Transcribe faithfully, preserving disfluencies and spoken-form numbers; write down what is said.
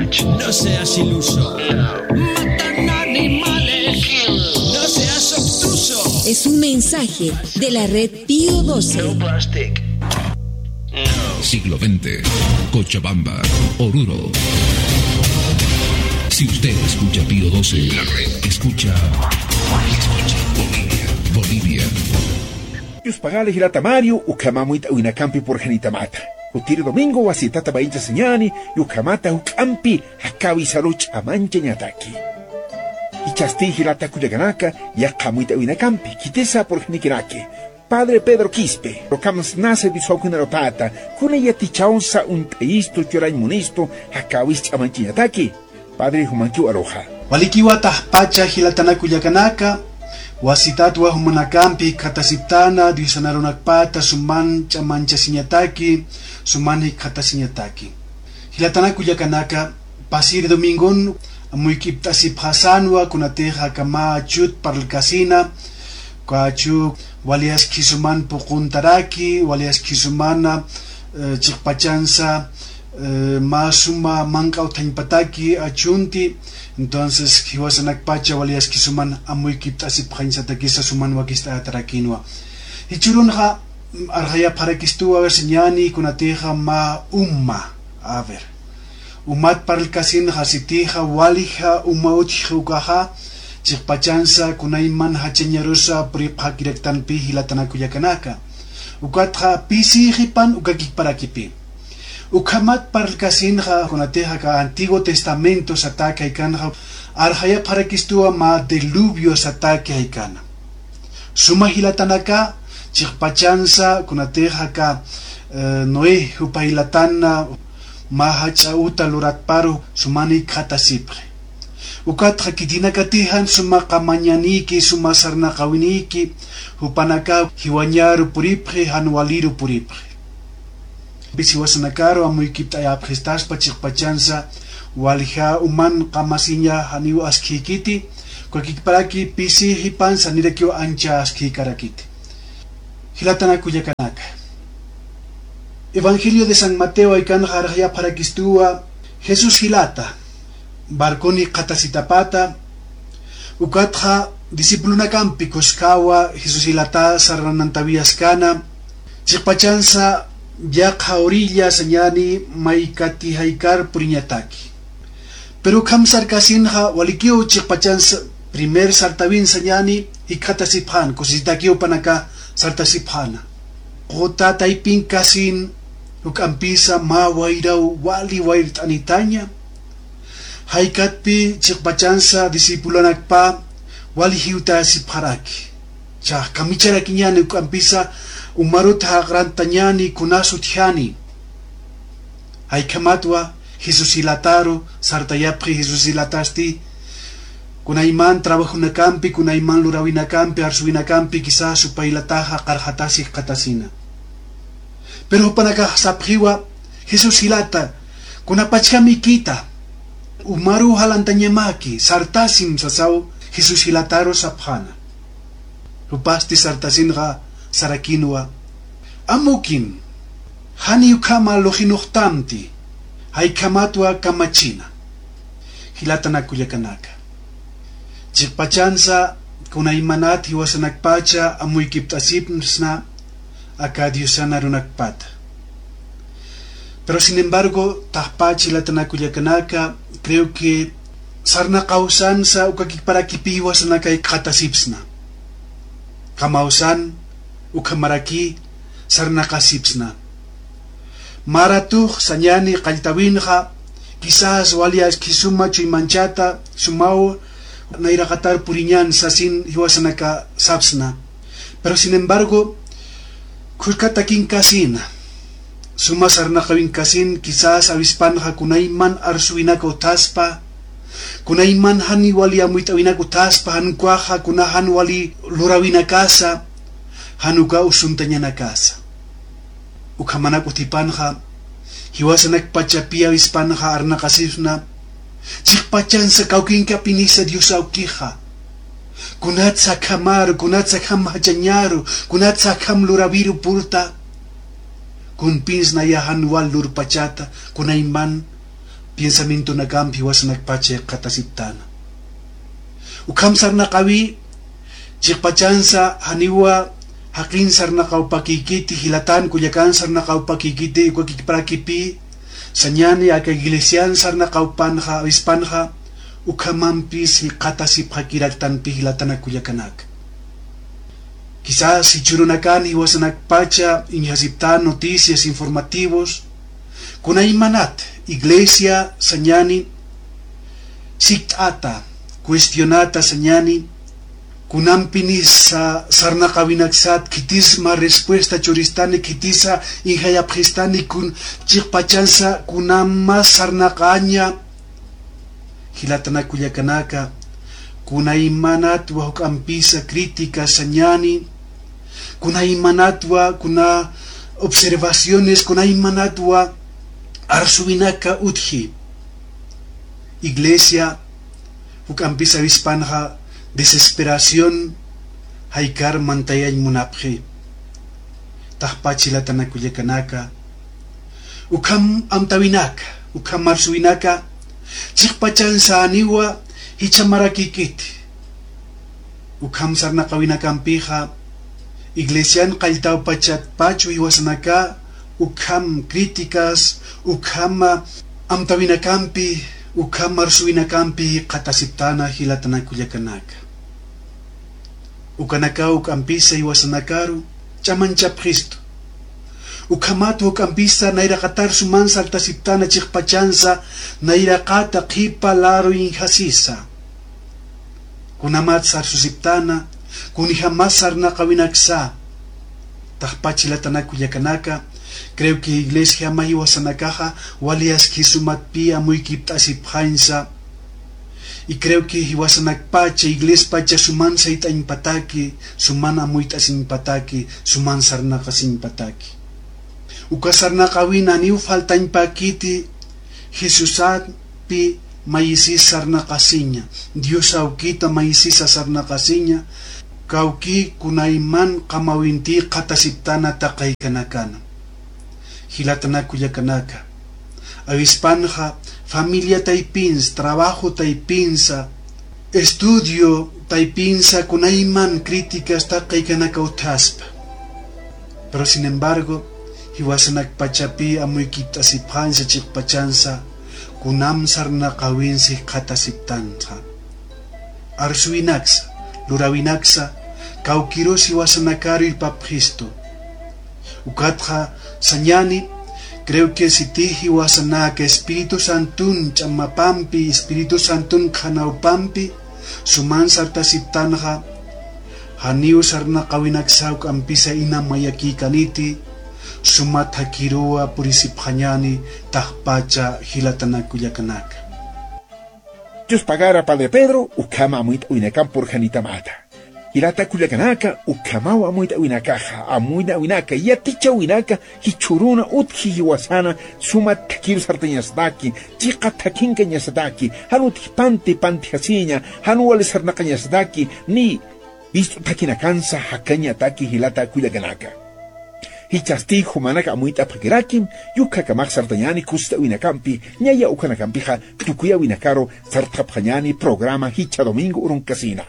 No seas iluso. Matan animales. No seas obtuso. Es un mensaje de la red Pío doce. Siglo veinte, Cochabamba, Oruro. Si usted escucha Pío doce, la red escucha, escucha Bolivia, Bolivia. Yuspagali jilata Mario, ukhama amuyt'awinakampi purxanitamata. Jutiri domingo wasitata mayinchasiñani, ukhamata juk'ampi jakawisaru ch'amanchañataki. Jichhasti jilata kullakanaka, yaqha amuyt'awinakampi, khitisa purxanikinaki. Padre Pedro Quispe, ukhams nase disawkinarutata, kuna yatichawsa uñt'ayistu churañ munistu, jakawis ch'amanchañataki. Padre, jumankiw aruxa. Walikiwa taxpacha jilatana kullakanaka, wasitatwa jumanakampi jikxatasiptana, Diosan arunakpata suman ch'amanchasiñataki, suman jikxatasiñataki. Jilatana kullakanaka, pasir domingon, amuyk'ipt'asipxasanwa, kunatix aka mä achut parlkasina, uka achu wali askhisuman puquntaraki, wali askhisuman, eh, chiqpachansa, eh, mä suma manq'a utjañpataki achunti, entonces, jiwasanakpacha wali askhisuman amuyk'ipt'asipxañsatakisa suman wakist'ayatarakinwa. Jichhürunxa, arxayapxarakistuwa, a ver, siñäni, kunatixa mä uma, a ver. Umat parlkasinxa sitixa, walixa uma utjxi ukaxa, chiqpachansa, kunayman jachañarusa puripxakiraktanpi jilatana kullakanaka. Ukatxa, pisixipan ukakiparakipi. Ukhamat parlkasinxa, kunatixa aka Antiguo Testamento satäki jaykanxa, arxayapxarakistuwa mä diluvio satäki jaykana. Suma jilatanaka, chiqpachansa, kunatixa aka, eh, Noé jupa jilatan, mä jach'a uta luratparu, suman jikxatasipxi. Ukatxa khitinakatixa suma qamañanïki, suma sarnaqawinïki, jupanaka jiwañaru puripxi, jan waliru puripxi. Pisi jiwasanakaru amuykipt'ayapxistaspa chiqpachansa, walixa uman qamasiña janiw askhïkiti, ukakiparakipi pisixipan sanirakiw ancha askhïkarakiti. Jilatana kullakanaka. Evangelio de San Mateo jaykanxa arxayapxarakistuwa, Jesús jilata, barconi jikxatasitapata, ukatxa discipulonakampi kuskawa Jesús jilata sarnanantawiyaskana, chiqpachansa yaqha orilla sañäni maykati jaykar puriñataki. Pero ukham sarkasinxa walikiw chiqpachansa primer sartawin sañäni jikxatasipxän, kusisitakiw jupanaka sartasipxäna. Quta taypin kasin juk'ampisa mä wayraw wali wayrt'anitaña. Jaykatpi chiqpachansa discipulonakpa wali jiwtäsipxaraki. Chhax kamicharakiñäni juk'ampisa umarut jaqrantañäni kunas utjani. Jaykhamatwa Jesús jilataru sartayapxi Jesús jilatasti, kunayman trabajonakampi, kunayman luräwinakampi, arsuwinakampi, quizás jupa jilataxa qarxatasi jikxatasina. Pero jupanakax sapxiwa, Jesús jilata, kunapachjam ikita, umaruw jalantañamaki, sartasim sasaw Jesús jilataru sapxäna. Jupasti sartasinxa sarakinwa, amukim, janiy ukhama luxinuxtamti, jaykhamatwa kamachina. Jilatana kullakanaka. Chiqpachansa kunaymanat jiwasanakpacha amuykipt'asipsna aka Diosan arunakpata. Pero sin embargo, taxpach jilatana kullakanaka, creo que sarnaqawsansa ukakiparakipi jiwasanaka jikxatasipsna. Kamawsan, ukhamaraki sarnaqasipsna. Mä ratux sañäni qalltawinxa, quizás wali askhï suma chuymanchata, sumaw nayraqatar puriñän sasin jiwasanaka sapsna. Pero sin embargo, khuskatakin kasina, suma sarnaqawin kasin, quizás awispanxa kunayman arsuwinak utjaspa, kunayman jan wali amuyt'awinak utjaspa, jan ukhaxa kuna jan wali luräwinakasa, jan uka usuntañanakasa. Ukhamanak utjipanxa, jiwasanakpachapi awispanxa arnaqasipsna, chiqpachansa kawkinkapinisa Dios awkixa. Kunatsa akhamaru, kunatsa akham jachañaru, kunatsa akham luräwiru purta. Kunpinsnaya jan wal lurpachata, kunayman piensamientonakampi jiwasanakpacha jikxatasiptana. Ukham sarnaqawi, chiqpachansa janiwa jaqin sarnaqawpakïkiti, jilatan kullakan sarnaqawpakïkiti, uka kikparakipi, sañani aka iglesian sarnaqawpanxa, avispanxa, ukhamampis jikxatasipxakiraktanpi jilatanak kullakanaka. Quizás jichhürunakan jiwasanakpacha iñjasiptan noticias, informativos, kunaymanat iglesia sañani sikt'ata, cuestionata sañani, kunampinis sarnaqawinaksat khitis mä respuesta churistani, khitisa iñjayapxistani, kun chiqpachansa kunam mä sarnaqaña. Jilatanak kullakanaka, kunaymanatwa juk'ampisa crítica sañani, kunaymanatwa kuna observaciones, kunaymanatwa arsuwinaka utji. Iglesia juk'ampisa avispanxa desesperación jaykar mantayañ munapxi. Taqpach jilatanak kullakanaka, ukham amtawinaka, ukham arsuwinaka, chiqpachansa janiwa jichha marakïkiti. Ukham sarnaqawinakampixa, iglesian qalltawpachatpach jiwasanaka, ukham críticas, ukham amtawinakampi, ukham arsuwinakampi jikxatasiptana jilatanak kullakanaka. Ukanakaw juk'ampisa jiwasanakaru ch'amanchapxistu. Ukhamat juk'ampisa nayraqatar suman sartasiptana chiqpachansa, nayraqata qhipa laru iñjasisa. Kunamat sarsusiptana, kunjamas sarnaqawinaksa. Taqpach jilatanak kullakanaka, creo que iglesiama jiwasanakaxa wali aski sumatpi amuykipt'asipxañsa. Y creo que jiwasanakpacha, iglespacha suman sayt'añpataki, suman amuyt'asiñpataki, suman sarnaqasiñpataki. Uka sarnaqawina janiw faltañpakiti, Jesusampi mayisis sarnaqasiña, Dios awkita mayisisa sarnaqasiña, kawki kunayman qamawinti jikxatasiptana taqaykanakana. Jilatanak kullakanaka, avispanxa familia taypinsa, trabajo taypinsa, estudio taypinsa kunayman críticas taqaykanaka utjaspa. Pero sin embargo, jiwasanakpachapi amuykipt'asipxañsa chiqpachansa, kunam sarnaqawinsa jikxatasiptanxa. Arsuwinaksa, luräwinaksa, kawkirus jiwasanakaru irpapxistu. Ukatxa sañani, creo que sitix jiwasanaka Espíritu Santun ch'amapampi, Espíritu Santun qhanawpampi, suman sartasiptanxa, janiw sarnaqawinaksa juk'ampisa ina mayakïkaniti, sumat thakiruwa purisipxañani, taqpacha jilatanak kullakanaka. Dios pagara, Padre Pedro, ukhama amuyt'awinakamp purxanitamata. Jilata kullakanaka, ukhamaw amuyt'awinakaxa, amuyt'awinaka, yatichäwinaka, jichhüruna utji jiwasana, sumat thakiru sartañasataki, chiqa thakhinkañasataki, jan utji panti pantjasiña, jan wali sarnaqañasataki, ni wist'u thakhinakansa jakañataki jilata kullakanaka. Jichhasti jumanak amuyt'apxakirakim, yukakamax sartañäni kusist'awinakampi, ñaya ukhanakampixa tukuyäwinakaru sartxapxañäni programa Jichha Domingo urunkasina.